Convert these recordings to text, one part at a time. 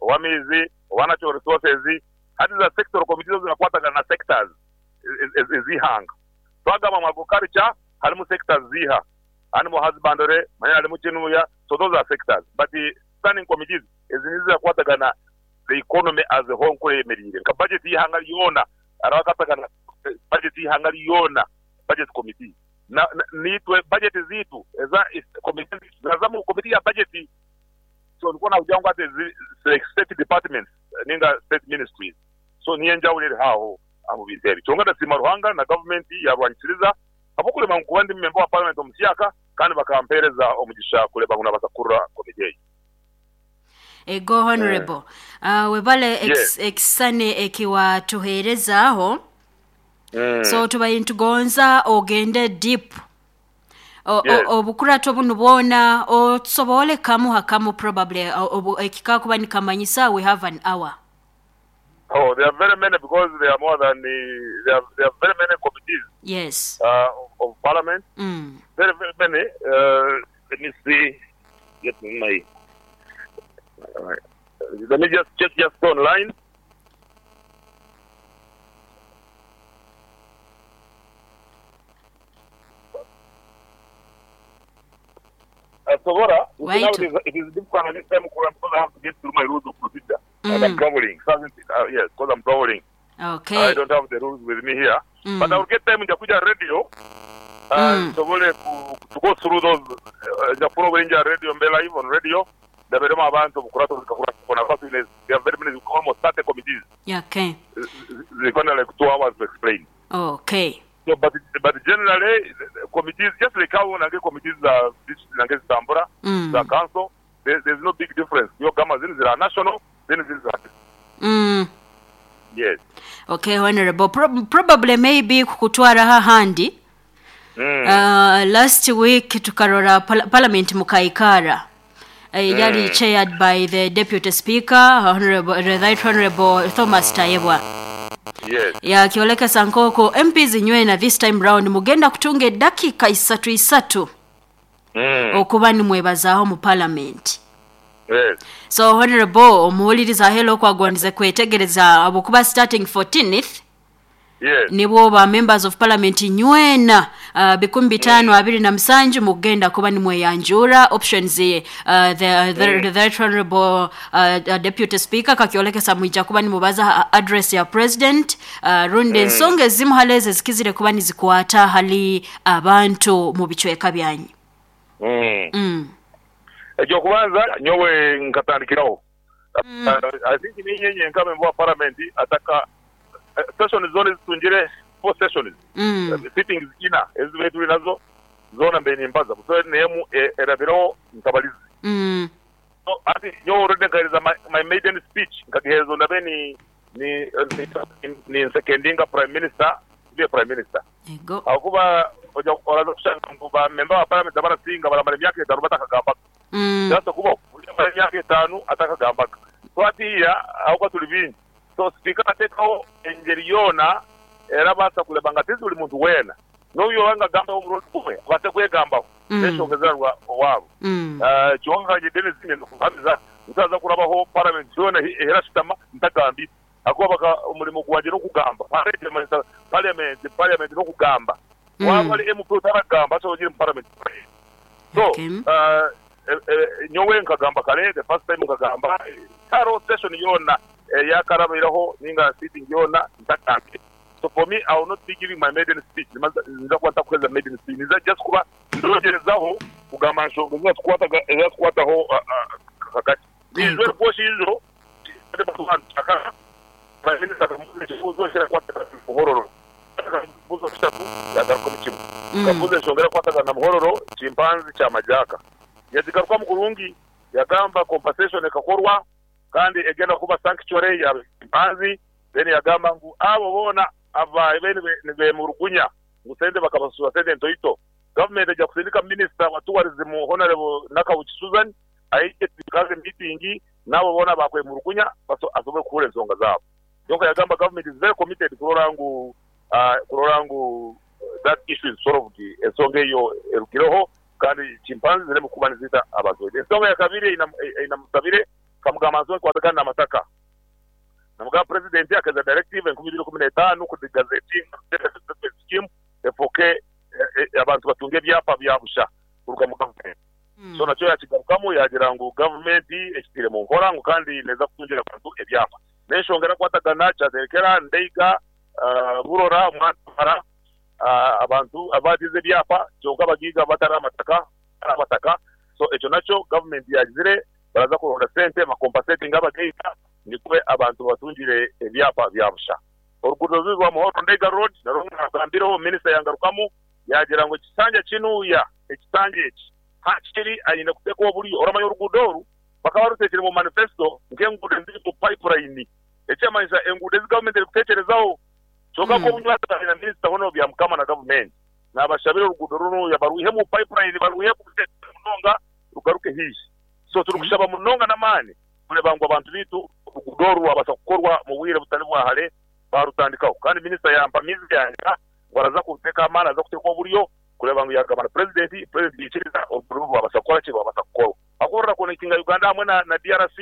ow'amaizi, owa natural resources. Hati za sectoral committees zo zirakwatagana na sectors ez'eihanga. Twagamba ngu agriculture harimu sectors ziiha? Animal husbandry, manya harimu kinuya, so those are sectors. But standing committees ezi nizo zirakwatagana the economy as a whole nku eyemereire. Nka budget y'eihanga ryoona hariho akakwatagana budget y'eihanga ryoona, budget committee. Na naitwe budget zaitu eza committee zaitu ziraza mu committee ya budget. So nikwo nakugira ngu hati ezi like state departments ninga state ministries. So niyo enjawulo eriho aho omu bintu ebyo. Kyonka ndasiima Ruhanga na gavumenti yarwanyisiriza ahabw'okureba ngu kuba ndi memba wa parliament omusyaka kandi bakampeereza omugisha kureeba ngu nabaasa kukurira komiti egi. Ego Honourable. Webale Yes. ekisisani eki watuheerezaaho. So tubaire nitugonza ogende deep. Yes. Obukurato bunu bwona otusoboole kamu ha kamu probably eki kakuba nikamanyisa we have an hour. Oh, there are very many because there are more than there are, there are very many committees Yes. of parliament. Very, very many. Let me see. Get my. Let me just check just online. Asobora, you see now Waitu. it is, it is difficult at this time because I have to get through my rules of procedure and I'm traveling. So, yes, because I'm traveling. I Okay. don't have the rules with me here. But I will get time nja kuja radio nsobole ku, to go through those nja kufuna oburinja radio mbe live on radio ndaberemu abantu obukurato zikakura kwa there are very many almost 30 committees Okay. zikona like 2 hours to explain. Okay. So, but generally the committees just like how nange committees za district nange zitambura za council there's no big difference. Yo gama zini zira national zini ziri za Yes. Okay, Honorable. Probably maybe kukutwaraho ahandi. Last week tukarora parliament mukaikara. Yali chaired by the Deputy Speaker, Honorable, the Right Honorable Thomas Tayebwa. Yes. Yakioleka nkoko MPs nywena this time round mugenda kutunga edakika isatu isatu okuba nimwebazaaho mu parliament. Yes. So Honorable omuwuliriza hello okwagondize kwetegereza abukuba starting 14th Yes. nibwo ba members of parliament nywena 527 mugenda kuba nimweyanjura options the right honorable deputy speaker kakiolekesa mwija kuba nimubaza address ya president rundi ensonga ezimu hali ezo ezikizire kuba nizikwata hali abantu mu bicweka byanyu. Ekyokubanza nyowe nkatandikiraho. I think ninye nyenka member wa parliament ataka sessions zona zitungire 4 sessions. Sittings ina ezibe tuli nazo zona mbe nimbaza so nemu erabiro ntabalizi. So ati nyowe already nkahereza my maiden speech nkagihereza ndabe ni secondinga prime minister ndiye prime minister. Ego. Akuba oraza kushanga ngu ba member wa parliament abarasinga baramara emyaka 5 batakagamba. Just kuba amara emyaka 5 atakagamba. So atiya aho tuli bingi. So speaker atekaho engeri yona era basa kuleba nga tizi buli muntu weena. N'oyo wanga gamba omurundi gumwe abase kwegambaho. N'enshonga owaabo. Kyonka nje Dennis ngenda kuhamiza ntaza kurabaho parliament yona era shitama ntagambi. Akuba baka omurimo gwanje n'okugamba. Parliament n'okugamba. Waba ali MP otaragamba so ogire mu parliament. So nyowe nkagamba kare the first time nkagamba karo session yona yakarabiraho ninga sitting yona ntagambi. So for me I will not be giving my maiden speech. Nza kuba ntakuheza maiden speech. Nza just kuba ndogerezaho kugamba nshonga ezatukwataho kakati. Nizwe rwoshijo Prime Minister akamubuza ekibuuzo muhororo. Akamubuuza kishatu yagarukamu kimwe. Akamubuuza enshonga erakwatagana na muhororo chimpanzi kya majaka. Yazigarukamu kurungi yagamba compensation ekakorwa kandi egenda kuba sanctuary ya chimpanzi. Then yagamba ngu abo boona aba bene nibemurugunya ngu sente bakabasura sente ntoito. Government ejja kusindika minister wa tourism Honorable Nakawuki Susan aije tukaze meeting nabo boona bakwemurugunya asobole kuhura ensonga zaabo. Yonka yagamba government is very committed kurora ngu that issue is solved. Ensonga eyo erugireho kandi chimpanzi ziremu kuba nizita abantu. Ensonga ya kabiri inamusabire Nkamugamba nsobola kukwatagana n'amataka. Namugamba Purezidenti akaiza directive 2015 ku degazetinga resettlement scheme efooke abantu batunge ebyapa bya busha kuruga mu gavumenti. So nakyo yakigarukamu yaagira ngu gavumenti ekitaire mu nkora ngu kandi neeza kutungira abantu ebyapa. N'enshonga erakwatagana Kyaterekera, Ndeiga, Burora, Mwantamara abantu abaatiize ebyapa kyonka abagaiga batari amataka abataka. So ekyo nakyo gavumenti yaagizire baraza kuronda sente bakompasetinge abagaiga nikwo abantu batungire ebyapa bya busha. Oruguuto ruri rwa Muhorro Ndeiga Road narwo narugambireho, minisita yangarukamu yaagira ngu ekisanja kinuuya, ekisanja eki hakiri aine kuteekwa oburyo. Oramanya oruguudo oru bakaba baruteekire mu manifesto nk'enguudo eziri mu pipeline, ekyamanyisa enguudo ezi gavumenti erikuteekyerezaho. Kyonka nk'obu na minisita hoona Byamukama na gavumenti naabashabira oruguudo runuuya barwihe mu pipeline barwihe munonga rugaruke haihi. So turikushaba munonga n'amaani kureeba ngu abantu baitu oruguudo oru rwabaasa kukorwa mu bwire butari bwa hare baarutandikaho. Kandi minisita yampamiize yaagira ngu araza kuteeka amaani, araza kuteeka oburyo kureeba ngu yaagamba na purezidenti, purezidenti yaikiriza oruguudo oru rwabaasa kukora ki? Rwabaasa kukorwa. Ahabw'okuba rurakonekitinga Uganda hamwe na DRC.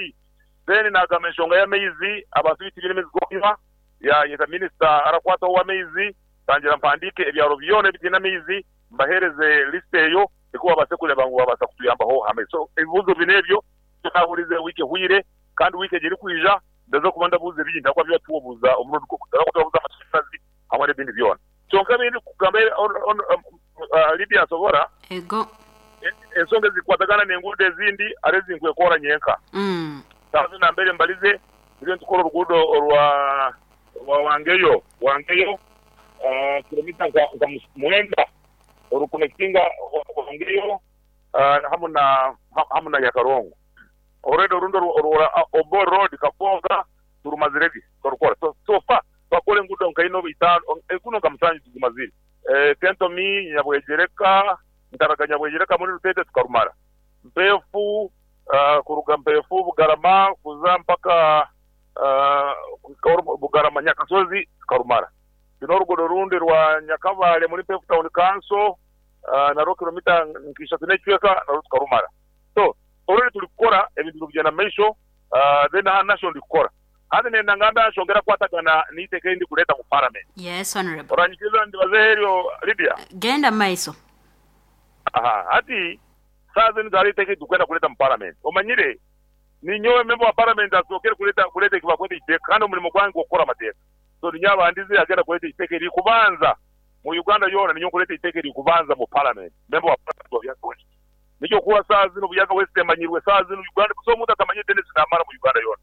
Then naagamba enshonga y'amaizi, abantu baitu tibaine maizi g'okunywa, yaayeta minisita arakwataho ow'amaizi, tangira mpandiike ebyaro byona ebitaine amaizi mbaheereze lisiti eyo nikwo babaase kureeba ngu babaasa kutuyambaho aha maizi. So ebibuuzo bina ebyo nibyo naahurize wiiki ehweire kandi wiiki egi erikwija ndaza kuba ndabuuza ebindi ahabw'okuba byo twobuuza omurundi gumwe. Ndaza kuba twabuuza amashanyarazi hamwe n'ebindi byona. Kyonka ebi ndikugamba Lydia nsobora Ego. ensonga ezikukwatagana n'enguudo ezindi hariho ezi nkwekoora nyenka. Saaha zinu nambere mbarize turiyo nitukora oruguudo orwa Wangeyo, Wangeyo kilomita nka mwenda orukunekitinga Wangeyo hamu na hamu na Nyakarongo. Already orundi orwa Obor Road Kaboga turumazire gye twarukora. So so far twakora enguudo nka ina oba itaano, enguudo nka musanju tuzimazire. Kentomi, Nyabwegyereka, Ntaraga Nyabwegyereka muri Ruteete tukarumara. Mpeefu kuruga Mpeefu Bugarama kuza mpaka Bugarama Nyakasozi tukarumara. Twine oruguudo orundi rwa Nyakabale muri Mpeefu Town Council narwo kilomita nka ishatu n'ekicweka narwo tukarumara. So already turi kukora ebintu biri kugyenda mu maisho then aha nasho ndi kukora. Hati nenda ngambe aha nshonga erakwatagana n'eiteeka eri ndikureeta mu parliament. Yes honourable. Oranyikiriza ndibazeho eryo Lydia? Genda mu maiso. Aha hati saaha zinu hariho eiteeka eri turikwenda kureeta mu parliament. Omanyire ninyowe member wa parliament asookere kureeta kureeta eki bakweta eiteeka kandi omurimo gwange gw'okukora amateeka. So ninyowe abandize agenda kureeta eiteeka erikubanza mu Uganda yoona ninyowe nkureeta eiteeka erikubanza mu parliament. Member wa parliament wa Buyaga West. Nikyo kuba saaha zinu Buyaga West emanyirwe saaha zinu Uganda busaho omuntu atamanyire Denis Namara mu Uganda yoona.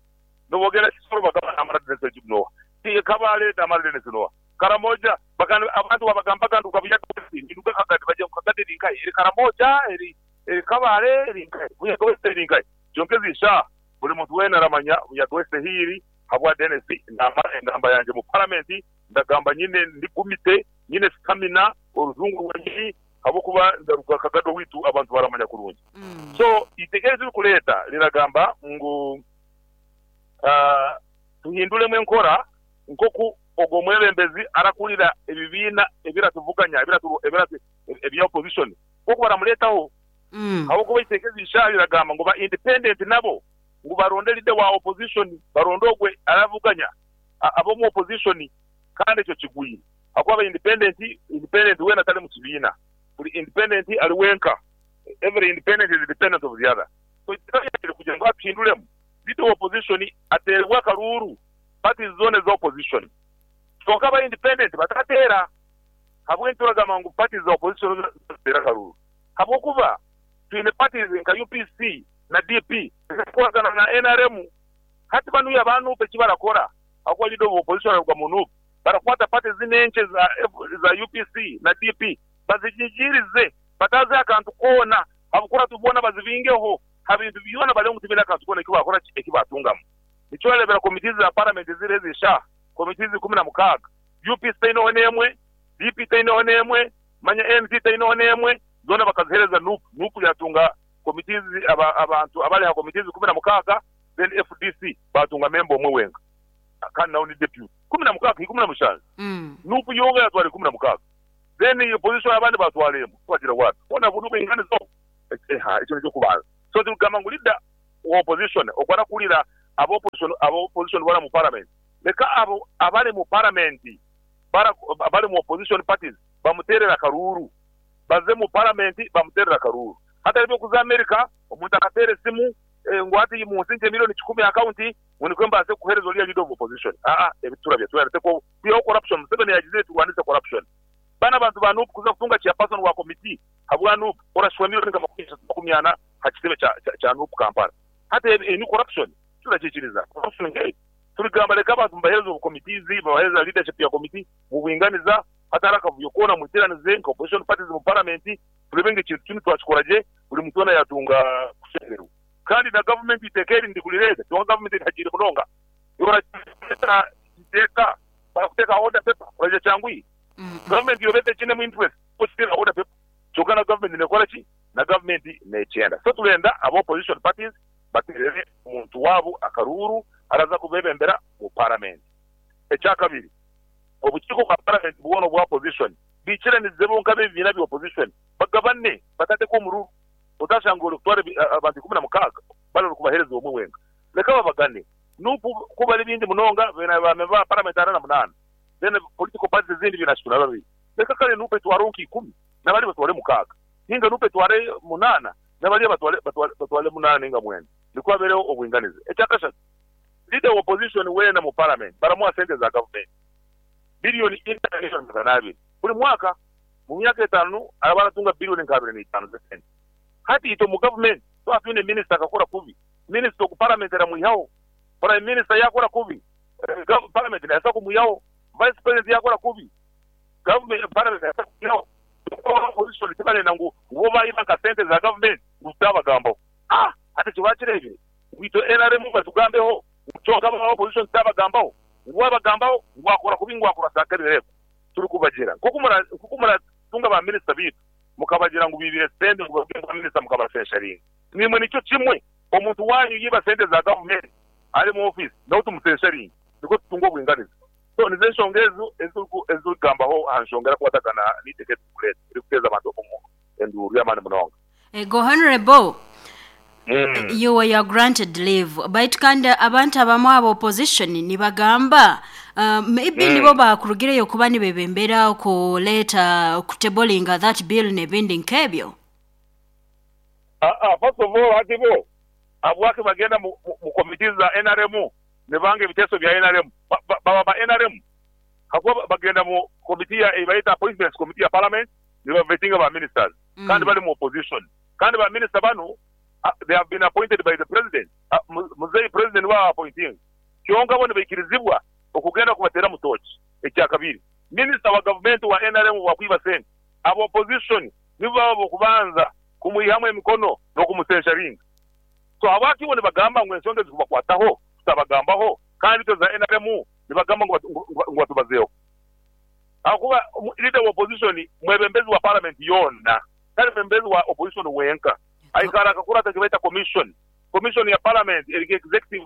Nobu ogenda Kisoro bagamba Namara Denis Ojib noha? Kabale Namara Denis noha? Karamoja bagamba abantu wabagambaga nduga Buyaga West ninduga Kagadi bagira ngu Kagadi eri nkahi? Eri Karamoja? Eri eri Kabale? Eri nkahi? Buyaga West eri nkahi? Kyonka ezi shaaha buri muntu weena aramanya Buyaga West ehi eri habwa Denis Namara engamba yangye mu paramenti ndagamba nyine ndi gumite nyine stamina orujungu rwanyini Ahabw'okuba ndaruga Kagado owaitu abantu baramanya kurungi. So eiteeka eri turikureeta riragamba ngu tuhinduremu enkora nk'oku ogwo omwebembezi arakurira ebibiina ebiratuvuganya ebya opposition nk'oku baramureetaho. Ahabw'okuba eiteeka eri rishaaha riragamba ngu ba independent nabo ngu baronde leader wa opposition, baronde ogwe aravuganya ab'omu opposition kandi ekyo kigwire. Ahakuba aba independent, independent weena tari mu kibiina. Buri independent ari wenka. Every independent is dependent of the other. So eiteeka ryangye kugira ngu atuhinduremu, leader wa opposition ateerebwe akaruuru parties zoona eza opposition. Kwonka aba independent batateera. Ahabw'enki turagamba ngu parties za opposition zoona ziteere akaruuru? Ahabw'okuba twine parties nka UPC na DP ezirikukoragana na nrm. Hati banuya aba nup eki barakora ahabw'okuba leader of opposition araruga mu nup, Barakwata party zinu enkye za UPC na DP bazinyigirize bataziha akantu koona ahabw'okuba boona bazibingeho ha bintu byona barebe ngu tibaine akantu koona eki bakora ki eki batungamu. Nikyo orareebera committees za parliament eziriho ezi eshaaha committees 16 UPC teineho n'emwe, DP teineho n'emwe, manya ANC teineho n'emwe zoona bakazihereza nup. Nup yatunga committees abantu abari aha committees 16 then FDC batunga member omwe wenka. Kandi nawe ni deputy. 16, 17. Nup yonka yatwara 16. Then opposition abandi batwara emwe. Twagira what? Hoona buri obwinganiza obwo? Eha, ekyo n'ekyokubanza. So turikugamba ngu leader wa opposition ogu arakuhurira aba opposition aba opposition boona mu parliament leka abo abari mu parliament abari mu opposition parties bamuteerere akaruuru baze mu parliament bamuteerere akaruuru hatari eby'okuza America omuntu akateera esimu ngu hati munsinkye million kikumi aha account ngu nikwo mbaase kukuheereza oriya leader of opposition aa ebi titurabya twena kwihaho corruption Museveni yagizire turwanise corruption Banu abantu ba Nup kuza kutunga chairperson wa committee habwa Nup orashwa million nka makumi ashatu makumi ana ha kitebe kya Nup Kampala. Hati eyo ni corruption? Turakikiriza corruption nkeyo? Turigamba leka abantu mubahereze obu committees, babahereze leadership ya committee mubwinganiza hatari akavuyo koona mwiteranize nka opposition parties mu parliament turebe ngu ekintu kinu twakikora gye buri muntu weena yatunga kushemererwa. Kandi na government eiteeka eri ndikurireeta kyonka government erihagiire munonga. Orareeta eiteeka barakuteeka order paper oraija kyanguhi. Gavumenti yoba etekinemu interest okiteera order paper kyonka na gavumenti nekora ki? Na gavumenti nekyenda. So turenda aba opposition parties baterere omuntu waabo akaruuru araza kubebembera mu paramenti. Ekyakabiri, obukiiko bwa paramenti bwona obwa opposition bikiranize bo nk'abebibiina bya opposition bagabane batateka omururu otashanga ori kutwara abantu 16 bari ori kubahereza omwe wenka. Leka babagane. Nup ku bari bingi munonga beine ba memba ba paramenti 48. Then political parties ezindi biine ashatu na babiri. Reka kare nup etwareho nka ikumi nabariya batware mukaaga. Ninga nup etware munaana nabariya batware batware batware munaana ninga mwenda. Nikwo habereho obwinganiza. Ekyakashatu, leader wa opposition weena mu parliament baramuha sente za government billion ina na million magana abiri buri mwaka. Mu myaka etaanu araba aratunga billion nka abiri na itaano z'esente. Hati itwe omu government twaba twine minister akakora kubi, minister ogu parliament eramwihaho. Prime minister yakora kubi, Parliament nebaasa kumwihaho, Vice President yakora kubi, Parliament nebaasa kumwihaho. Kwonka aba opposition tibarenda ngu bo baiba nka sente za government ngu tutabagambaho. Ah! Hati ekyo bakireebire ngu itwe nrm batugambeho ngu kyonka aba opposition tutabagambaho, ngu wabagambaho ngu akora kubi ngu akora saakabire. Turikubagira nk'oku muratunga ba minisita baitu mukabagira ngu baibire sente ngu baruge nka minisita mukabasensharinga. Naimwe nikyo kimwe. Omuntu waanyu yaiba sente za gavumenti ari omu ofiisi nawe tumusensaringe nikwo tutunge obwinganiza. So nizo enshonga ezo ezi turikugambaho aha nshonga erakwatagana n'eiteeka eri turikureeta erikuteeza abantu omu enduuru y'amaani munonga. Ego Honourable, you were granted leave baitu kandi abantu abamwe aba opposition nibagamba maybe nibo bakurugireyo kuba nibebembera kureeta kutablinga that bill n'ebindi nk'ebyo. Aa first of all hati bo habwaki bagenda mu committees za nrm nibanga ebiteeso bya nrm? Baba ba nrm? Hakuba bagenda mu committee ya eyibayeta appointments committee ya parliament niba vettinga ba ministers kandi bali mu opposition kandi ba minister banu they have been appointed by the president muzei president niwe aba appointinga kyonka bo nibaikirizibwa okugenda kubateramu torch. Ekyakabiri minister wa gavumenti wa nrm bwakwiba sente aba opposition nibo baba abokubanza kumwihamu emikono n'okumusensharinga. So habwaki bo nibagamba ngu ensonga ezikubakwataho tutabagambaho kandi itwe za nrm nibagamba ngu batubazeeho? Ahakuba leader wa opposition mwebembezi wa parliament yoona tari mwebembezi wa opposition wenka. Aikara akakurata ekibaita commission. Commission ya parliament eri nka executive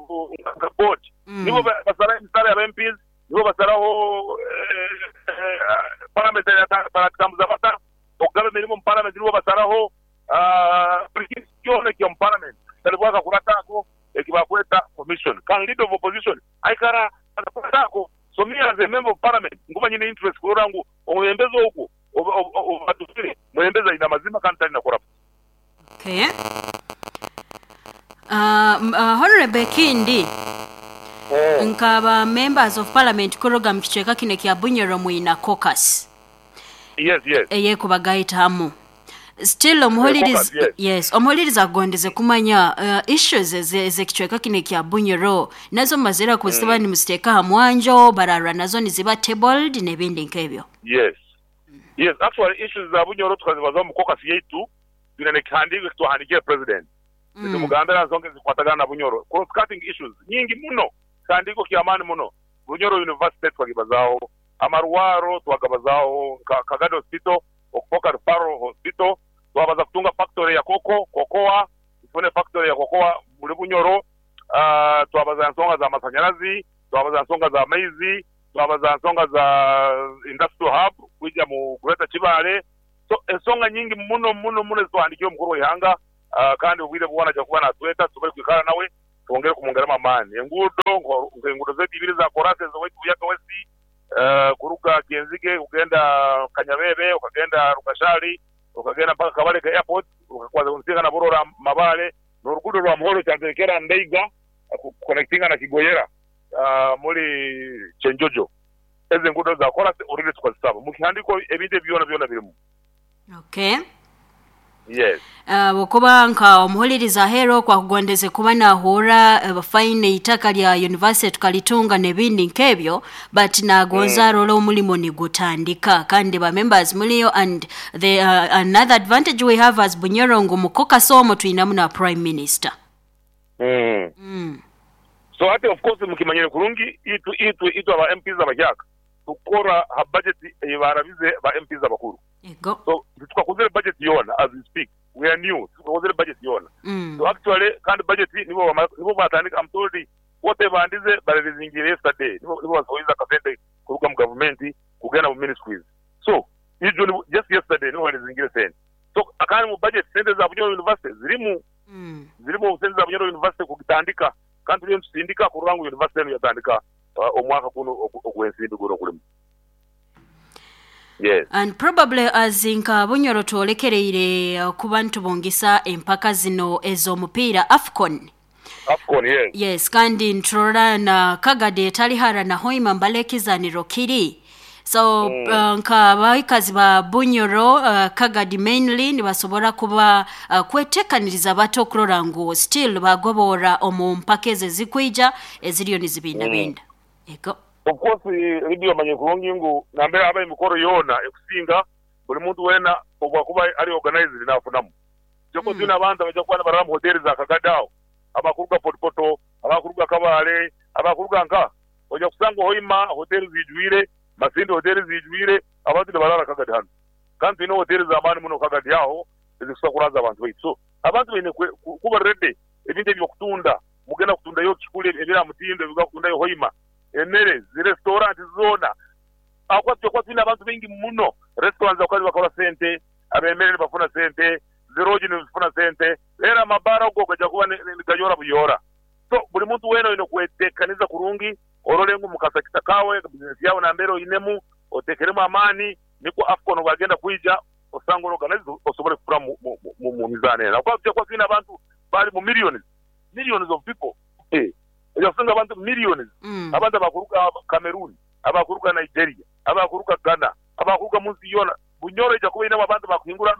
nka board. Nibo basara emisara ya ba MPs, nibo basaraho parliament baragitambuza bata. Okugaba emirimo omu paramenti nibo basaraho buri kintu kyona ekiri omu paramenti kitaribwa akakurata ako eki bakweta commission. Kandi leader of opposition aikara akakurata ako. So me as a member of parliament nkuba nyine interest kurora ngu omwebembezi ogwo obatusire mwebembezi aine amazima kandi tari na corrupt. Okay. Honourable ekindi nka ba members of parliament kuruga mu kicweka kinu ekya Bunyoro mwina caucus. Yes, yes. Eyekubagaita hamu. Still omuhuliriza, Caucus, yes. yes, omuhuliriza akugondeze kumanya issues ez'ekicweka kinu ekya Bunyoro nazo mumazire kuziba nimuziteeka aha mwanjo, bararura nazo niziba tabled n'ebindi nk'ebyo. Yes. Yes, actually issues za Bunyoro tukazibazaho omu caucus yaitu, twine n'ekihandiiko eki twahandiikire President nitumugambira aha nsonga ezikukwatagana na Bunyoro. Cross cutting issues nyingi muno, kihandiiko ky'amaani muno. Bunyoro University tukagibazaaho, Amarwaro twagabazaaho nka Kagadi Hospital okufoka Referral Hospital, twabaza kutunga factory ya cocoa, cocoa, tufune factory ya cocoa muri Bunyoro, twabaza nsonga za masanyarazi, twabaza nsonga za maizi, twabaza nsonga za industrial hub kwija mu Greater Kibaale. So ensonga nyingi muno muno muno ezitwahandikiire omukuru w'eihanga. Kandi obwire bwona aija kuba natweta tusobole kwikara nawe twongere kumwongeramu amaani. Enguudo nk'enguudo zaitu ibiri eza koraasi ez'owaitu Buyaga West kuruga Kyenzige kugenda Kanyabebe okagenda Rukashari okagenda mpaka Kabalege Airport okakwata na Burora Mabale n'oruguudo rwa Muhoro Kyanterekera Ndeiga kukonectinga na Kigoyera muri Kyenjojo. Ezo enguudo za koraasi already tukazisaba mukihandiiko ebintu ebi byona byona birimu. Okay. Yes. Ahabw'okuba nka omuhuririza aheeru okwo akugondeze kuba naahurra fine eitaka rya university tukaritunga n'ebindi nk'ebyo but naagonza arore omurimo nigutandika kandi ba members muriyo and the another advantage we have as Bunyoro ngu omu caucus omwo twinamu na prime minister. So hati of course mukimanyire kurungi itwe itwe itwe aba MPs abahyaka tukukora ha budget eyi barabize ba MPs abakuru. Ego. So titukakozere budget yoona as we speak we are new titukakozere budget yoona. So actually kandi budget nibo bamara nibo batandika am told quarter ebandize bareleasingire yesterday nibo nibo basohoize akasente kuruga mu gavumenti kugenda mu ministries. So ijo nibo just yesterday nibo bareleasingire sente. So kandi mu budget sente za Bunyoro University zirimu zirimu sente za Bunyoro University kugitandika kandi turiyo nitusindika kurora ngu university enu yatandika omwaka gunu ogw'ensimbi gunu ogulimu. Yes. And probably as nka Bunyoro twolekereire okuba nitubungisa empaka zino ez'omupiira Afcon. Afcon, yes. Yes, kandi niturora na Kagadi etali hara na Hoima mbale ekizaniro kiri. So nka abaikazi ba Bunyoro, Kagadi mainly nibasobora kuba kwetekaniriza bata okurora ngu still bagoboora omu mpaka ezo ezikwija eziriyo nizibindabinda? Ego. Of course Lydia omanyire kurungi ngu nambere haba emikoro yoona ekusinga buri muntu weena obwakuba ari organized nafunamu. Kyonka twine abantu abaija kuba nibarara omu hoteri za Kagadi aho, abakuruga Fort Portal, abakuruga Kabale, abakuruga nka. Oija kusanga Hoima hoteri zijwire, Masindi hoteri zijwire, abantu nibarara Kagadi hanu. Kandi twine hoteri z'amaani muno Kagadi aho ezikusobola kuraaza abantu baitu. So abantu baine kuba ready ebintu eby'okutunda. Mugenda kutundayo ki kuri ebiri aha mutindo ebi bakutundayo Hoima, emere, zi restaurant zoona. Ahakuba twija kuba twine abantu baingi muno, restaurant zakuba nibakora sente, ab'emere nibafuna sente, zi lodge nizifuna sente, reero amabaara go gaija kuba nigayora buyora. So buri muntu weena oine kweteekaniza kurungi orore ngu omu kasakita kaawe, bizinesi yaawe nambere oinemu oteekeremu amaani nikwo AFCON obwagenda kwija osange ori organized osobole kufuna mu mizaano eno. Ahakuba twija kuba twine abantu bari mu millions. Millions of people eh oja kusanga abantu millions abantu abakuruga Cameroon, abakuruga Nigeria, abakuruga Ghana, abakuruga munsi yoona. Bunyoro eija kuba einemu abantu bakuhingura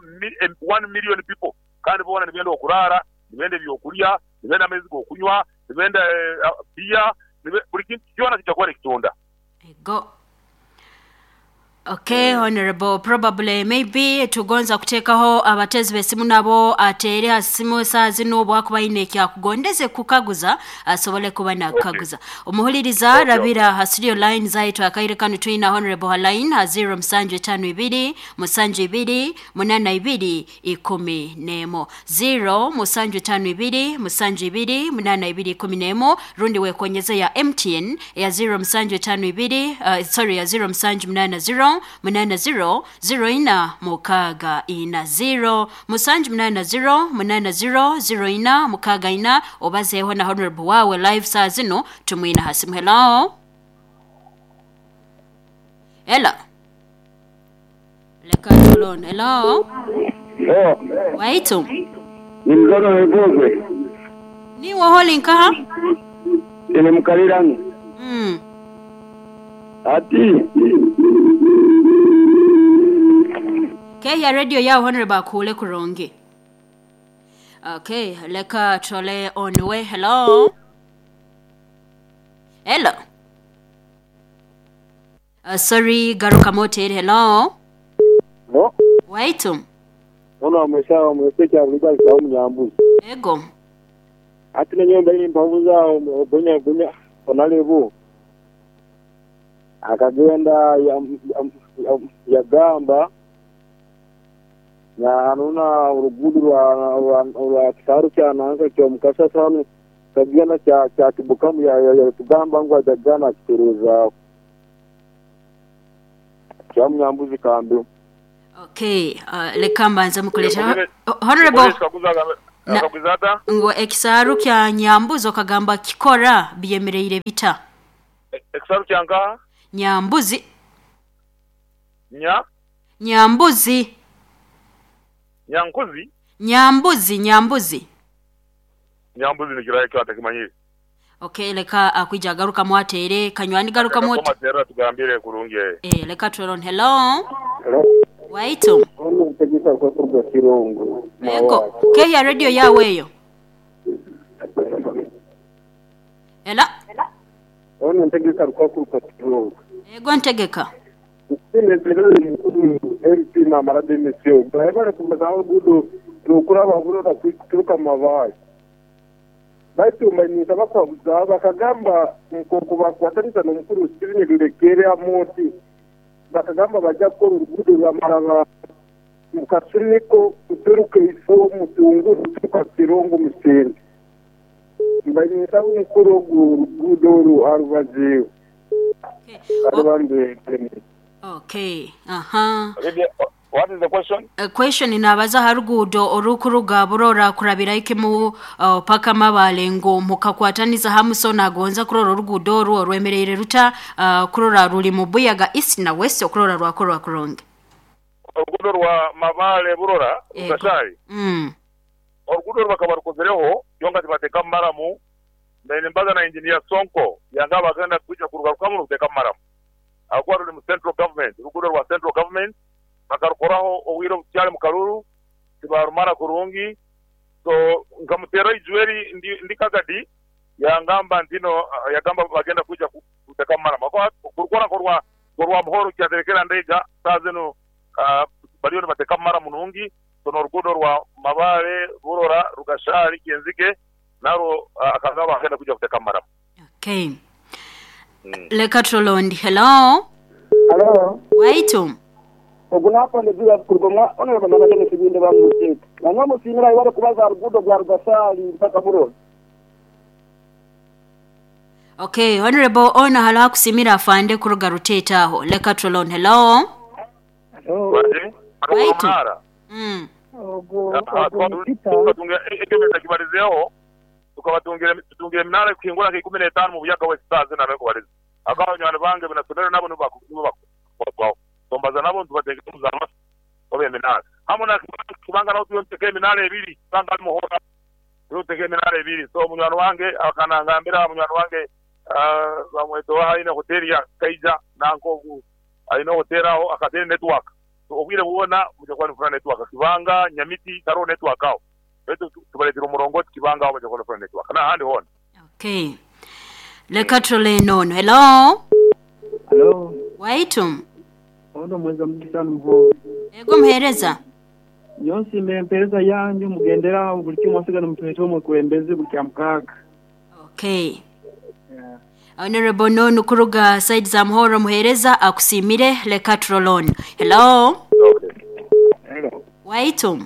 one million people kandi boona nibenda okuraara, nibenda ebyokurya, nibenda amaizi g'okunywa, nibenda beer, buri kintu kyona kija kuba nikitunda. Ego. Okay honorable probably maybe tugonza kutekaho abatezi besimu nabo atere ha simu esaaha zinu obwakuba aine ekyakugondeze kukaguza asobole kuba nakukaguza. Omuhuliriza rabira ha studio line zaitu akaire kanu twina honorable ha line ha 0 musanju etano ibiri musanju ibiri munana ibiri ikumi nemo 0 musanju etano ibiri musanju ibiri munana ibiri ikumi nemo rundi wekonyeze ya MTN eya 0 musanju etano ibiri sorry ya 0 musanju munana 0 munana 0 0 ina mukaaga ina 0 musanju munana 0 munana 0 0 ina mukaaga ina obazeeho na honorable wawe live saa zinu tumwine aha simu. Hello? Hello? Leka tulone. Hello? Oh, Waitu? ni mzono webugwe. Niwe holi nkaha? Ene mukalirano. Ati. Kehya radio yao honorable akule kurungi. Okay, leka tole on way. Hello? Hello? Sorry, garuka motel. Hello? No. Waitu? Ono ameshawa mweseke avuga kwa munyambuzi. Ego. Ati nenyo mbele mpavuza gonya gonya onalebu. Akagenda yagamba na anuna urugudu rwa kisaru kya nanka kyo mukasa sanu kagenda kya kibukamu ya tugamba ngo ajagana kitereza kya munyambuzi kambi. Okay, leka mbanze mukuleta. Honorable Na- Akaguza ata? Ngu ekisaaru kya Nyambuzi okagamba kikora byemereire bita? Ekisaaru kya nkaha? Nyambuzi. Nya? Nyambuzi. Nyankuzi? Nyambuzi, Nyambuzi. Nyambuzi nikirahi ekyo atakimanyire. Okay, leka akwija agarukamu ateere. Kanywani garukamu Leka oti. koma atugambire kurungi. Eh, leka turole. Hello. Hello. Waitu. Ono ntegeka kwa kuruga Kirongo. Ego, kehya radio yawe eyo. Ela. Ono ntegeka kwa kuruga Kirongo. Ego ntegeka. Sine mukuru MP na marade misio. Bahebare kumeza gudo rukura baburo kuturuka mabayi. Baitu manyisa bakwabuza bakagamba nkoko bakwatanisa n'omukuru Steven Lulekere Amoti. Bakagamba bajja kukora oruguudo rwa Maraba mu Kasuniko kuturuka ifo Mutungu kuturuka Kirongo Musende. Mbanyisa omukuru ogu oruguudo oru arubaziiwe. Okay. Arubambe. Okay. Aha. What is the question? Question inabaza ha ruguudo orukuruga Burora kurabira ikimu paka Mabale ngu mukakwataniza hamu so nagonza kurora oruguudo orwo orwemereire ruta kurora ruri mu Buyaga East na West okurora rwakorwa kurungi. Oruguudo rwa Mabale Burora Rugashari. Oruguudo oru bakaba barukozereho kyonka tibateekamu maramu. Nimbaza na engineer Sonko yangaba agenda kwija kurugarukamu n'okuteekamu maramu. Ahakuba ruri mu central government, oruguudo rwa central government bakarukoraho obwire obutukyari mu karuru tibarumara kurungi. So nkamuteera eijweri ndi Kagadi yangamba ntino yagamba bagenda kwija kuteekamu maramu. Ahakuba kurukora nkorwa Muhoro kyaterekera Ndeiga saaha zinu bariyo nibateekamu maramu nungi. So n'oruguudo rwa Mabale Burora Rugashari Kyenzike narwo akagamba agenda kwija kuteekamu maramu. Okay. Leka turole Hello. Hello. Waitu. Ogu nakonde bila kuruga honorable Nabageni Kibinde bamutete. Nanywa musimira ibare kubaza rugudo rwa Rugashari mpaka Burora. Okay, honorable ona hala kusimira afande kuruga Ruteta aho. Leka turole. Hello. Hello. Waitu. Ogu Peter. Ekibarizeho tukabatungira tutungira eminara kuhingura nka 15 mu Buyaga West saaha zinu nabekubariza. Akaba bange binasomero nabo nibo bakubaho. Tombaza nabo tubateeke muzama obe eminara. Hamwe na kubanga naho tuyonteka eminara ebiri kubanga muhora tuyonteka eminara ebiri. So munywani wange akanangambira munywani wange bamwetowa aine hoteli ya Kaija nanko aine hoteli aho akateri network. So obwire bwona mujja kuba nifuna network Kibanga Nyamiti karo network aho. Betu tubaletera omurongoti Kibanga aho mujja kuba nifuna network. Na handi hona. Okay. Leka turole nono. Hello. Hello. Waitu. Ono mweza mugisa muho. Ego muhereza. Nyonsi mpereza yanyu mugendera buli kimwe asigana mutwete omukulembeze buli kya mukaaga. Okay. Yeah. Honorable nono kuruga side za Muhoro muhereza akusimire leka turolon. Hello. Okay. Hello. Waitu.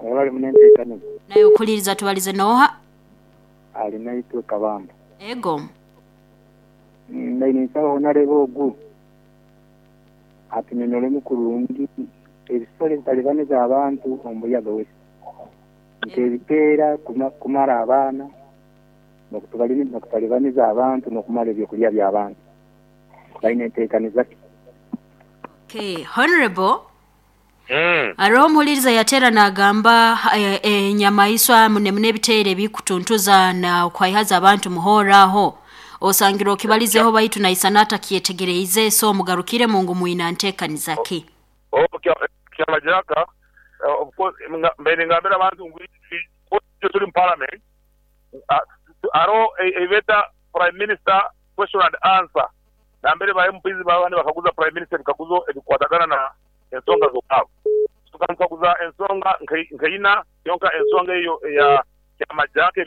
Olali munente kanu. Naye okuliriza tubalize noha. Ali naitwe Kabamba. Ego. Ndaine nsaba honorable ogu. Atunyonyole mukurungi ebisolo ebitalibaniza abantu omu Buyaga West. Nk'ebiteera kumara abaana n'okutalibaniza abantu n'okumara ebyokurya by'abantu. Baine enteekaniza ki? Okay, honorable. Hariho omuhuririza yateera nagamba enyamaiswa mune ebiteere bikutuntuza na okwaihaza abantu muhora aho. Osangira okibalizeho baitu naisana atakyetegereize so mugarukire mungu mwina nteekaniza ki? Kyamajaka of course mbere ngambira abantu ngu turi mu parliament aro ebeta prime minister question and answer nambere ba MPs babandi bakaguza prime minister bikaguzo ebikwatagana na ensonga z'obwabo. Tukaguza ensonga nkaina yonka ensonga eyo ya Kyamajaka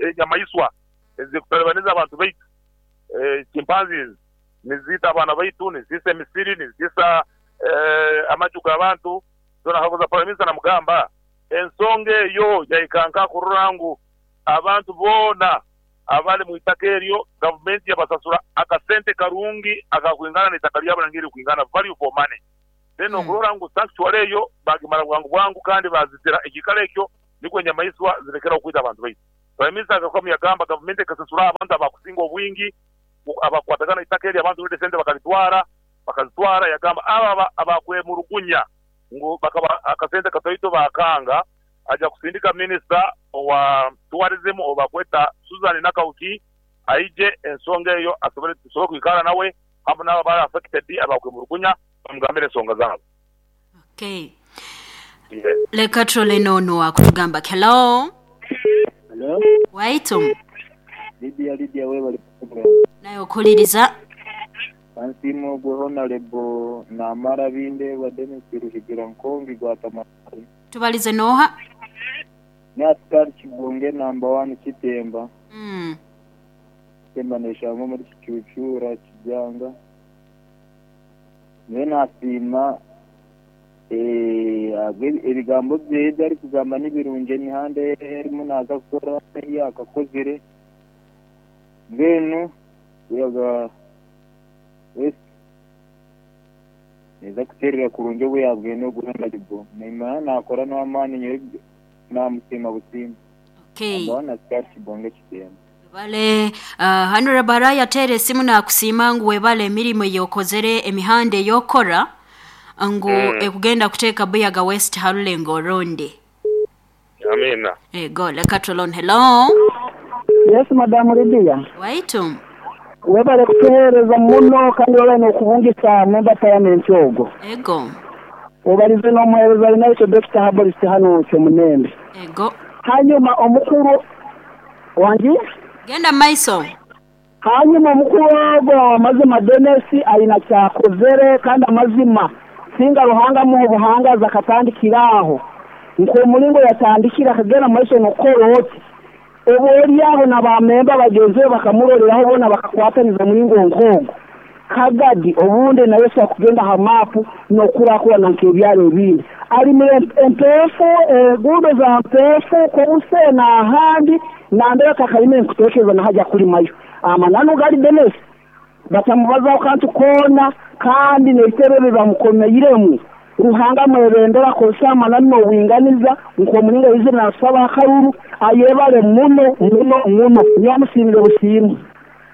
enyamaiswa ezikutalibaniza abantu baitu chimpanzees nizita abaana baitu nizisa emisiri nizisa amaju g'abantu. So nakaguza prime minister namugamba ensonga eyo yaikanka kurora ngu abantu boona abali mu itaka eryo gavumenti yabasasura akasente karungi akakwingana n'itaka lyabo nangeri kwingana value for money. Then okurora ngu sanctuary eyo bagimara bwangu bwangu kandi bazitira ekiikaro ekyo nikwo enyamaiswa zirekeraho kwita abantu baitu. Prime Minister agarukamu yagamba gavumenti ekasasura abantu abakusinga obwingi abakukwatagana eitaka eryo abantu already sente bakabitwara bakazitwara yagamba abo abakwemurugunya ngu bakaba akasente katoito bakanga aja kusindika Minister owa Tourism ou bakweta Susan Nakawuki aije ensonga eyo asobole tusobole kwikara nawe hamu naabo abari affected abakwemurugunya bamugambire ensonga zaabo. Okay. Yes. Leka turole n'onu akutugamba ki. Hello. Hello. Waitu. Lydia Lydia webale program. Naye okuliriza. Kansiime ogwo Honarebo Namara Bindeeba Denis Ruhigira Nkongi gwa Tamale. Tubalize n'oha? Ni Asikari Kibunge namba wani Kitemba. Kitemba neshangwa omuri Kicucuura Kijanga. Nyowe nasiima ebigambo bye ebi arikugamba nibirungi emihanda ei arimu naaza kukora ei yaakakozire. Mbwenu Buyaga West neeza kuteerera kurungi obu yaabwine ogu Honourable. Nimanya naakora n'amaani nyowe naamusiima busiima. Okay. Number one Askari Kibonge Kitemba. Webale Honourable araye ateera esimu nakusiima ngu webale emirimo eyokozere emihanda eyokora ngu ekugenda kuteeka Buyaga West harulengo orundi. Amiina. Ego leka turole hello. Yes madam Lydia. Waitu. Webale kutuhereza muno kandi webale nokubungisa member parliament ogwo. Ego. Obarize nomuhereza Arinaitwe Dokita Herbalist hanu Kyomunembe. Ego. Hanyuma omukuru wangi? Genda mumaiso. Hanyuma omukuru ogwo owamazima Denis aine kyakozere kandi amazima singa Ruhanga amuha obuhangazi akatandikira aho nkomuringo yatandikire akagenda mumaiso nokukora oti obu oryaho na ba memba bagyenzi be bakamuroreraho boona bakakwataniza muringo nkogwo Kagadi obundi nayo esobola kugenda ha maapu n'okukurakurana nk'ebyaro ebindi. Arimire empeefu, enguudo za mpeefu, Kobuse n'ahandi nambere atakarimire nkuteekereza na haja kulimayo. Amananu gali Denis batamubazaho kantu koona kandi n'ebitebe ebi bamukomeiremu. Ruhanga amwebembere akozese amananu n'obwinganiza nk'omulingo yaizire natusaba akaruru. Ayebale muno muno muno. Nyowe amusiimire busiimwe.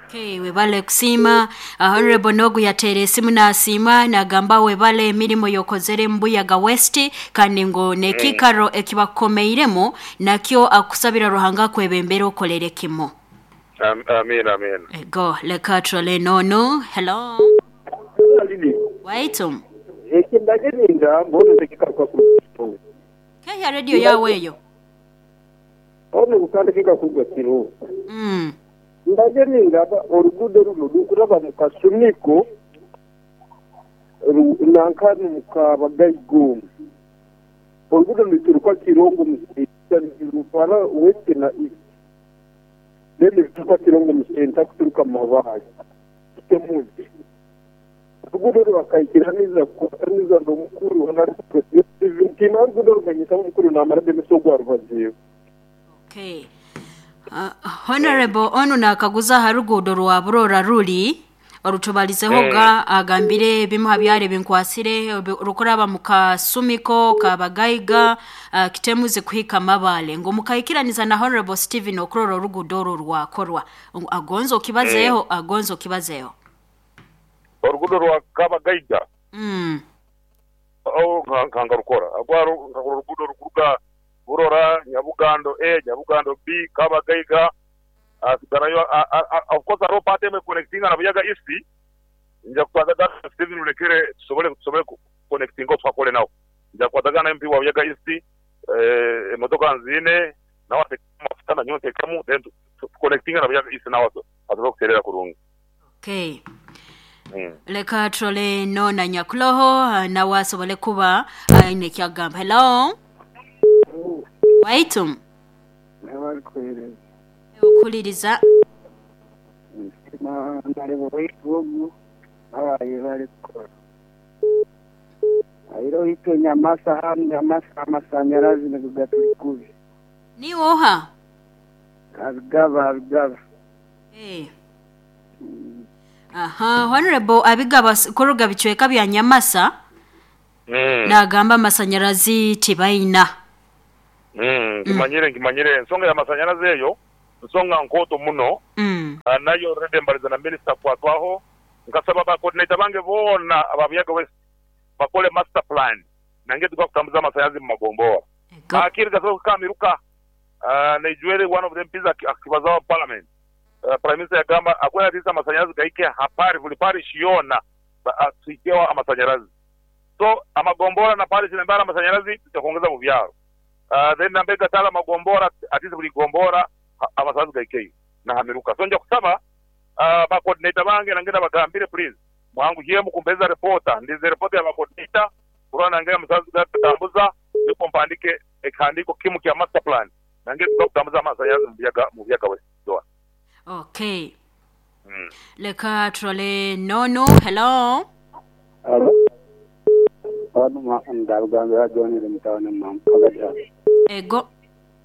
Okay, webale kusiima. Honourable n'ogu yateera esimu nasiima nagamba webale emirimo y'okozere omu Buyaga West kandi ngu n'ekiikaro ekibakukomeiremu nakyo akusabira Ruhanga akwebembere okolere kimu. Amiina amiina. Ego leka turole n'onu. Hello. Waitu. Eki ndagye ningamba onu tikikaruka kuruga. Kehya radio yaawe eyo. Onu kandi kikakurwa kiro. Ndagye nindaba oruguudo runo rukuraba mu Kasumiko nanka n'omu Kabagaiga omu. Oruguudo nirituruka Kirongo omu senta nirutwara West na East. Then nirituruka Kirongo omu senta kuturuka Mabaare Kitemuzi. Oruguudo oru bakaikiraniza kukwataniza n'omukuru Ntiina oruguudo orumanyisa omukuru namara Denis ogu arubazireho. Okay. Honourable onu nakaguza aha ruguudo rwa Burora ruri orutubarizeho ga agambire ebimu ha byaro ebinkwasire orukuraba mu Kasumiko, Kabagaiga, Kitemuzi kuhika Mabale ngu mukaikiraniza na Honourable Stephen okurora oruguudo orwo rwakorwa ngu agonze okibazeeho agonze okibazeeho. Oruguudo rwa Kabagaiga Agho nka nkarukora. Agho nkakora oluguudo olukuruga Burora, Nyabugando A, Nyabugando B, Kabagaiga, hasigarayo of course hariho part emwe econnectinga na Buyaga East, nja kukwatagana na Stephen Rurekere tusobole tusobole kuconnectinga tuhakore nawe. Nja kukwatagana na MP wa Buyaga East, emotoka nziine, nawe atekemu amafuta nanyowe ntekemu then tuconnectinge na Buyaga East nawe asobole kutereera kurungi. Okay. Leka turole n'onu anyakuloho nawe asobole kuba aine eki akugamba. Hello. Waitu. Nawe arikuheereza. Okuhuririza. Nsiima Honourable waitu ogu abaayebare kukora. Haireho itwe Nyamasa hanu Nyamasa amashanyarazi nigaturi kubi. Niiwe oha? Abigaba Abigaba. Eh. Aha, Honourable Abigaba kuruga bicweka bya Nyamasa. Mm. Naagamba amasanyarazi tibaina. Mm, nkimanyire, nkimanyire. Ensonga y'amasanyarazi eyo nsonga nkooto muno. Mm. Nayo already mbalize na Minisita Kwatwaho, nkasaba ba coordinator bange boona aba Buyaga West bakole master plan nange tuga kutambuza amasanyarazi mu magombora. Ego. Akiri gasobola kuhika aha miruka. Naijwere one of the MPs akibazaho mu parliament, Prime Minister yagamba akwenda atiisa amasanyarazi gahike ha parish, buli parish yoona tuhikeho amasanyarazi. So amagombora na parish nambere hariho amasanyarazi tuja kwongeza mu byaro. Then nambere gatari amagombora atiisa buli gombora amasanyarazi gahikeyo na ha miruka. So nja kusaba ba coordinator bange nange nabagambire please mwanguhyemu kumpereza repota. Ndinze repota ya ba coordinator kurora nange amasanyarazi gatambuza nikwo mpandike ekihandiiko kimu kya master plan nange tuga kutambuza amasanyarazi mu Buyaga West Zone. Okay. Leka turole n'onu. Hello. Halo. Hano ndabugambira John ndi mu tawuni Mpagadya. Ego.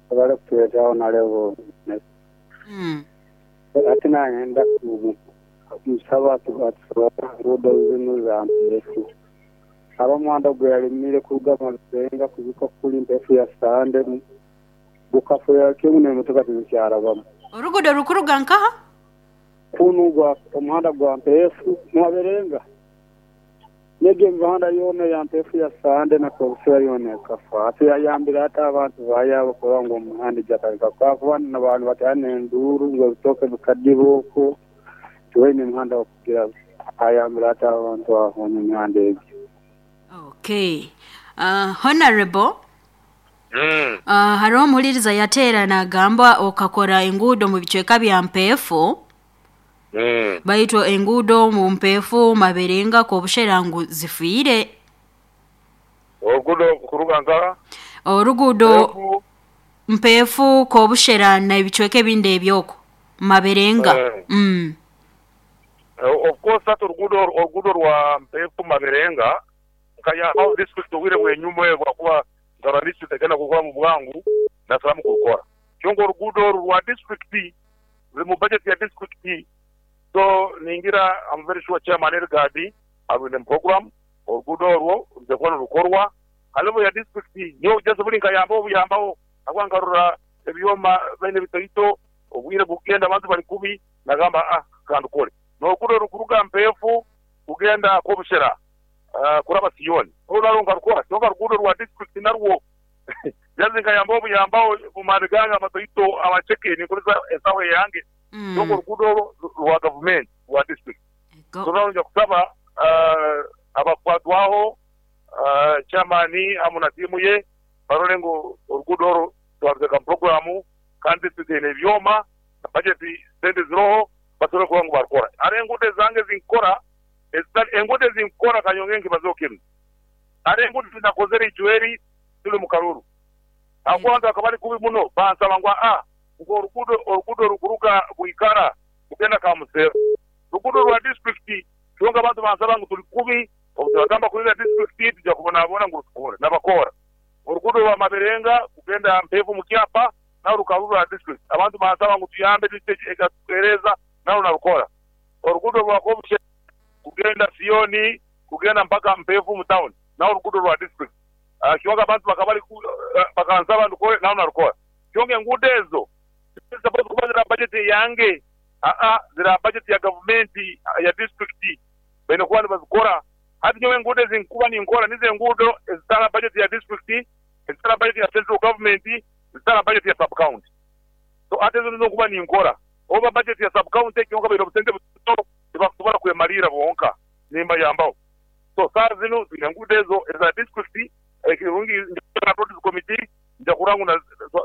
Webale kutuleeta Honorable. Ate nayenda kumusaba atusobole enguudo zinu za mpeefu. Aba omuhanda gweyalimire kuruga Mabirenga kuhika kuri Mpeefu ya Sande gukafurira kimwe n'emotoka tizikyarabamu. Oruguudo rukuruga nkaha? Kunu gwa omuhanda gwa Mpeefu Mabirenga n'egyo emihanda yoona eya Mpeefu ya Sande na Kobusera yoona ekafa. Hati yayambire ata abantu baayabo kurora ngu omuhanda gyatareka kwafa n'abantu batera n'enduuru ngu ebitooke bikadiba okwo tibaine muhanda gw'okugira ayambire ata abantu aho n'emihanda egyo. Okay. Honourable, Mm. hariho omuhuririza yateera nagamba okakora enguudo omu bicweka bya Mpeefu, Mm. baitu enguudo omu Mpeefu, Mabirenga, Kobushera ngu zifiire. Oruguudo kuruga nkaha? Oruguudo Mpeefu. Mpeefu, Kobushera n'ebicweka ebindi eby'okwo. Mabirenga. Eh. Of course hati oruguudo oruguudo rwa Mpeefu Mabirenga nkayambaho district obwire bwenyuma ebwo ahakuba nkarora district egenda kurukora mu bwangu nasalamu kurukora. Kyonka oruguudo oru rwa district ruri mu budget ya district so ningira am very sure chairman Elgard arwine mu program oruguudo orwo rwija kuba nirukorwa. Ha level ya district nyowe just buri nkayambaho buyambaho ahakuba nkarora ebyoma baine ebitoito obwire bukugenda abantu bari kubi nagamba ah kandukore. N'oruguudo orukuruga Mpeefu kugenda Kobushera kuraba Sioni orwo narwo nkarukora kyonka oruguudo rwa district narwo just nkayambaho buyambaho omu maani gange amatoito amaceke ninkozesa ensaho eyange kyonka oruguudo orwo rwa gavumenti rwa district. Ego. So narwo nja kusaba abakukwatwaho chairman hamu na tiimu ye barole ngu oruguudo orwo twaruteeka mu puroguraamu kandi district eine ebyoma na bajeti sente ziroho basobole kurora ngu barukora. Hariho enguudo ezange ezinkukora ezitari enguudo ezinkukora kanyongere nkibazeho kinu. Hariho enguudo ezinakozere ijweri turi mu karuru ahabw'okuba abantu bakaba bari kubi muno bansaba ngu aa ngu oruguudo oruguudo orukuruga Bwikara kugenda Kamuseero ruguudo rwa disiturikiti kyonka abantu bansaba ngu turi kubi obu turagamba kurinda disiturikiti tuja kubonabona ngu rutukore nabakoora. Oruguudo rwa Mabirenga kugenda Mpeefu omu kyapa narwo rukaba ruri orwa disiturikiti abantu bansaba ngu tuyambe disiturikiti ekatuheereza narwo narukora. Oruguudo rwa Kobushe kugenda Sioni kugenda mpaka Mpeefu omu tawuni narwo oruguudo rwa disiturikiti kyonka abantu bakaba bari bakansaba ndukore narwo narukora. Kyonka enguudo ezo tiziri kuba ziri aha bajeti eyange, aa ziri aha bajeti ya gavumenti ya disiturikiti baine kuba nibazikora. Hati nyowe enguudo ezi ndikuba ninkora nizo enguudo ezitari aha bajeti ya disiturikiti, ezitari aha bajeti ya Central Government, ezitari aha bajeti ya sub county. So hati ezo nizo ndikuba ninkora. Oba bajeti ya sub county kyonka baine obusente buto tibakusobora kwemariira bonka nimbayambaho. So saaha zinu twine enguudo ezo eza disiturikiti, ekirungi ndi Roads Committee nja kurora ngu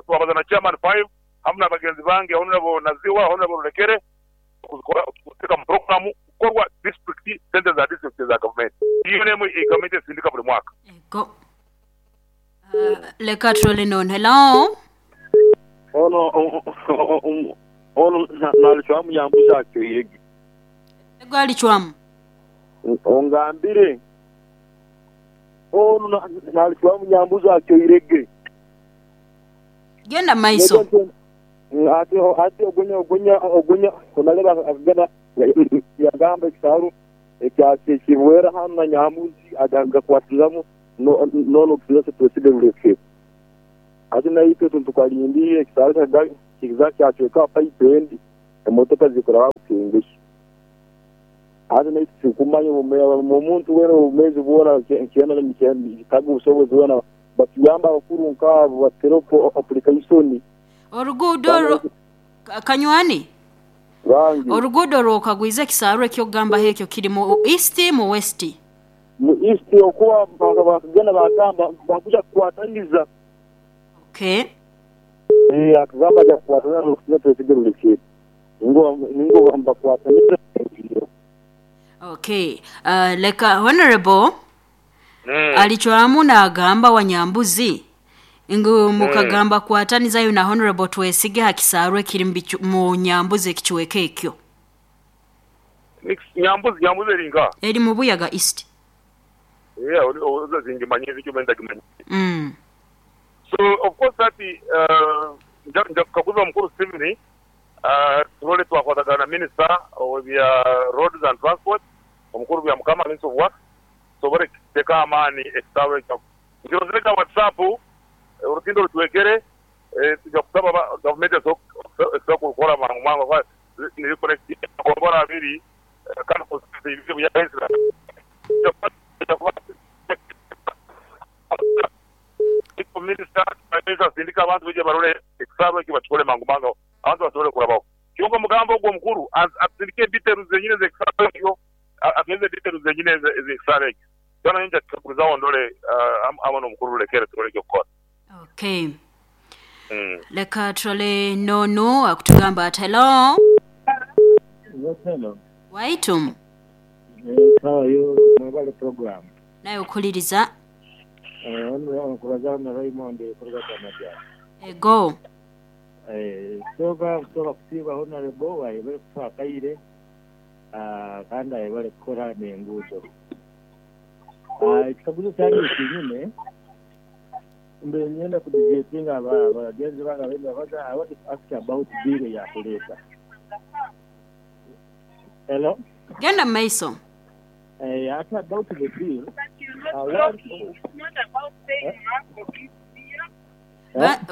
twabaza na Chairman Five hamu n'abagenzi bange Honourable Naziwa, Honourable Rulekere kuzikora kuziteeka mu puroguraamu kukorwa disiturikiti, sente za disiturikiti eza gavumenti. Eyo n'emwe ei gavumenti esindika buri mwaka. Ego. Leka turole n'onu. Hello. Ono ono nalicwamu yambuza atyo yegi. Ego alicwamu. Ongambire. Ono nalicwamu yambuza atyo irege. Genda mu maiso. Ati ati ogunya ogunya ogunya onaleba akagenda yagamba ekisaaru ekya Kibwera hanu na Nyamuzi agakwatiramu. N'onu Twese Twesige Rulekere. Hati naitwe tukalindiire ekisaaru kiza kyacweka paipu endi emotoka zikuraba Bukengesha. Hati naitwe titukumanya omuntu weena obumezi bwona kyena obusobozi bwona batuyambe abakuru nkaabo batereho application. Oruguudo orwo Kanywani Bangi. Oruguudo orwokagwize ekisaaru ekyokugambaho ekyo kiri mu East mu West? Mu East okuba bakagenda bagamba bakuja kukwataniza. Okay. Eeh akagamba aja kukwataniza nokusinga Twesige Rulekere. Ningo nibakwataniza. Okay. Leka Honourable alicwamu nagamba Wanyambuzi ngu mukagamba kwatanizayo na Honourable Twesige ha kisaaru ekiri mu Nyambuzi ekicweka ekyo. Nyambuzi, Nyambuzi eri nkaha? Eri mu Buyaga East. Eeh aho tingimanya ekyo ntagimanya. So of course hati nja kukaguza omukuru Steven turole twakwatagana na Minister ow'ebya Roads and Transport, omukuru Byamukama, Minister of Works, tusobole kutekaho amaani ekisaawe ekyo. Nkirozire nka WhatsApp, orutindo rucwekere, tuja kusaba gavumenti esobole kurukora mangu mangu ahakuba niri connectinga amagombora abiri kandi constituency ibiri Buyaga East na Minisita asindike abantu baije barole ekisaawe ekyo bakikole mangu mangu abantu basobole kurabaho. Kyonka omugambo ogwo omukuru atusindike details zenyini ez'ekisaawe ekyo, atuheereze details zenyini ez'ekisaawe ekyo. Kyona nyowe nja kukikaguzaho ndole hamwe n'omukuru Rulekere turole eky'okukora. Okay. Leka turole n'onu akutugamba ati hello. Yes, hello. Waitu. Sawa yo mwebale program. Naye okuhuliriza. Ono nkubazaho na Raymond kuruga Kyamajja. Ego. Ekisooka nkusooka kusiima Honourable ayebare kutuha akaire kandi ayebare kukora n'enguudo. Ekikaguzo kyange eki nyine, mbaire niinyenda ku debatinga abagyenzi bange ababaire nibabaza, I want to ask about bill eya kureeta. Hello? Genda mu maiso. Ate about the bill, I want.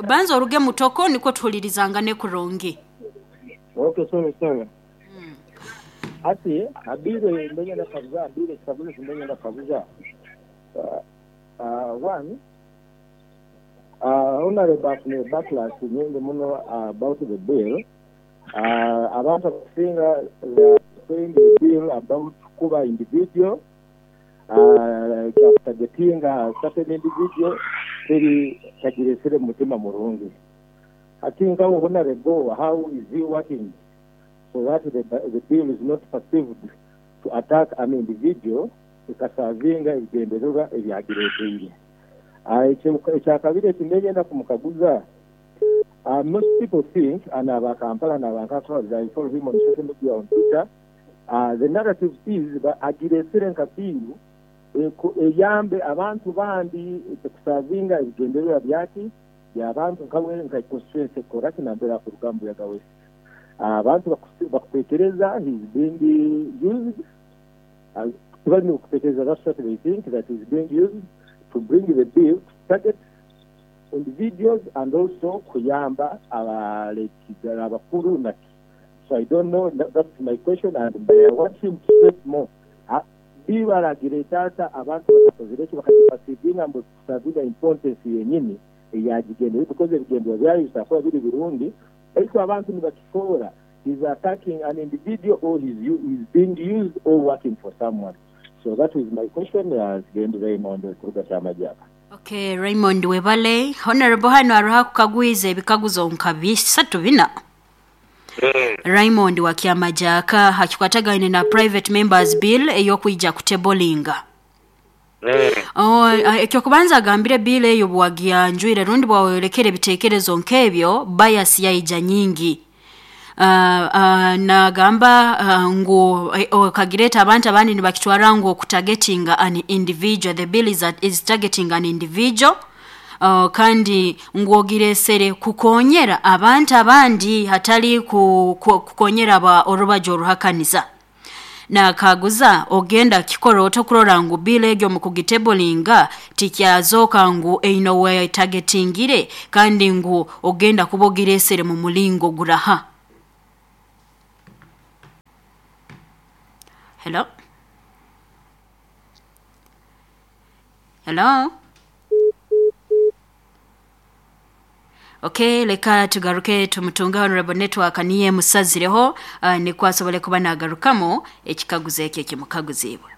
Banza oruge mutoko nikwo tuhulirizangane kurungi. Okay, sorry, sorry. Hati ha bill eyo mbe nyenda kukaguza, ha bill ekikaguzo eki mbe nyenda kukaguza, one, Honourable afunire backlash nyingi muno about the bill, abantu abakusinga they are saying the bill about kuba individual, Kya kutagetinga certain individual teri tagiresire mu mutima murungi. Hati nkawe Honarebo how is he working so that the the bill is not perceived to attack an individual ekasavinga ebigyendererwa ebyagireteire. Ekyakabiri eki nenyenda kumukaguza, most people think and aba Kampala nabantu I follow him on social media on Twitter, The narrative is agireetsire nka bill eyambe abantu bandi kusavinga ebigyendererwa byaki by'abantu nkawe nka constituency Koraki nambere akuruga omu Buyaga West. Abantu bakutekereza he is being used, tibari kutekereza that's what they think that he is being used to bring the bill to target individuals and also kuyamba abakuru naki. So I don't know that's my question and I want him to stress more bill aragireeta ata abantu batakozire ki bakagiperceivinga mbu ekusavinga importance yenyini eyagigenderire because ebigendererwa byayo bisobola kuba biri birungi baitu abantu nibakikoora he's attacking an individual or he's he's being used or working for someone so that is my question Nsigendi Raymond kuruga Kyamajaka. Ok Raymond webale. Honourable hanu aroho akukagwize ebikaguzo nka bisatu bina. Raymond wa Kyamajaaka hakikwatagaine na Private Members Bill ey'okwija kutebolinga. Eky'okubanza agambire bill eyo bwagyanjwire rundi bwaweyolekera ebitekerezo nk'ebyo bias yaija nyingi. Nagamba ngu okagireeta abantu abandi nibakitwara ngu okutagetinga an individual, the bill is targeting an individual. Kandi ngu ogireesere kukonyera abantu abandi hatali kukonyera aba orubaju oruhakaniza. Nakaguza ogenda kikora ota okurora ngu bill egyo omu kugitebolinga tikyazooka ngu eine owetagetingire kandi ngu ogenda kuba ogireesere mu mulingo guraha. Hello? Hello? Okay, leka tugaruke tumutunge Honorable Network niye musazireho, nikwo asobole kuba nagarukamu ekikaguzo ekyo ekimukaguziibwe.